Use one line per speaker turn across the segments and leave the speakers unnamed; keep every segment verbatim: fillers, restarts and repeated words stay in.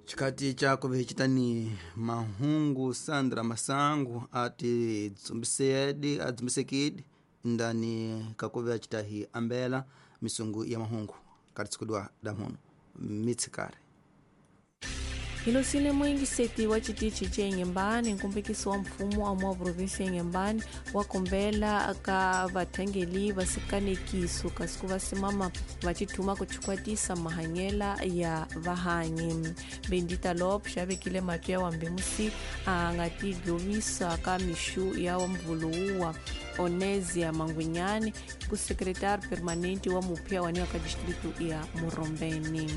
Xikati cha kuvihicitani mahungu Sandra Masangu ati dzumbisedi adzumbisekidi ndani kakuve acitahi ambela misungu ya mahungu katitsikudwa damuno mitsikare.
Hilosile mwingi seti wa chitichi che Inhambane, nkombekiso wa mfumo amwa provinsi ya Inhambane wa kombela ka vathangeli vasikanekiso kasi ku vasimama vachithuma kuchikwatisa mahanyela ya vahanyi. Bendita Lopes avekile matwi ya wambemusi a nga tidlovisa ka mixu ya mvuluwa Onésia Mangwinyani ku secretário permanente wa mupya waniwa ka distrito ya Morombeni.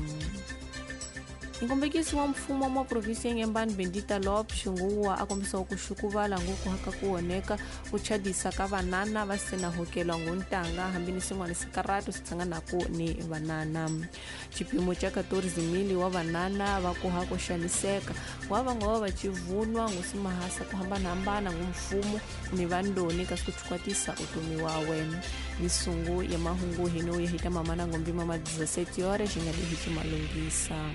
Nkombekisi wa mfumo wa provinsi ya Inhambane Bendita Lopes nguwa a kombisa ku xukuvala nguku haka ku oneka ku chadisa ka vanana va sena hokelwa nguntanga hambi ni swin'wana sikaratu swi tshanganaku ni vanana. Xipimo xa quatorze mil wa vanana va ku ha ku xaniseka wa va nga va va chivunwa ngusimahasa ku hambanahambana ngu mfumo ni vandoni kasi ku chukwatisa utomi wa wena. Misungu ya mahungu hino ya hita mamana ngombi mama dezessete horas xi nga lehi malungisa.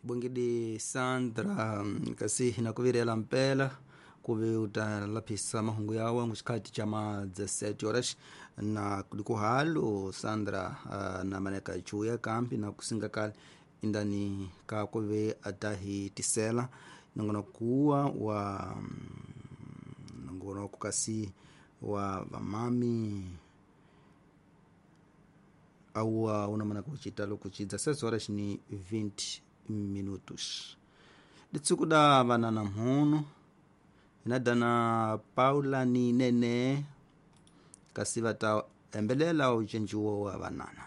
Bongidi Sandra kasi hinakuvirela mpela kuve utalaphisa mahungu yawe nguxikhati cha ma dezessete horas na kuhalo Sandra uh, na maneka chuya kampi na kusinga kale indani ka kuve atahi tisela nongona kuwa wa nongona kukasi wa vamami au una mana kuchita lokuchi dezessete horas ni vinte minutos. Ditsukuda vanana mhunu inadana Paula ni Nene kasi vata embelela ucenjuwo wa vanana.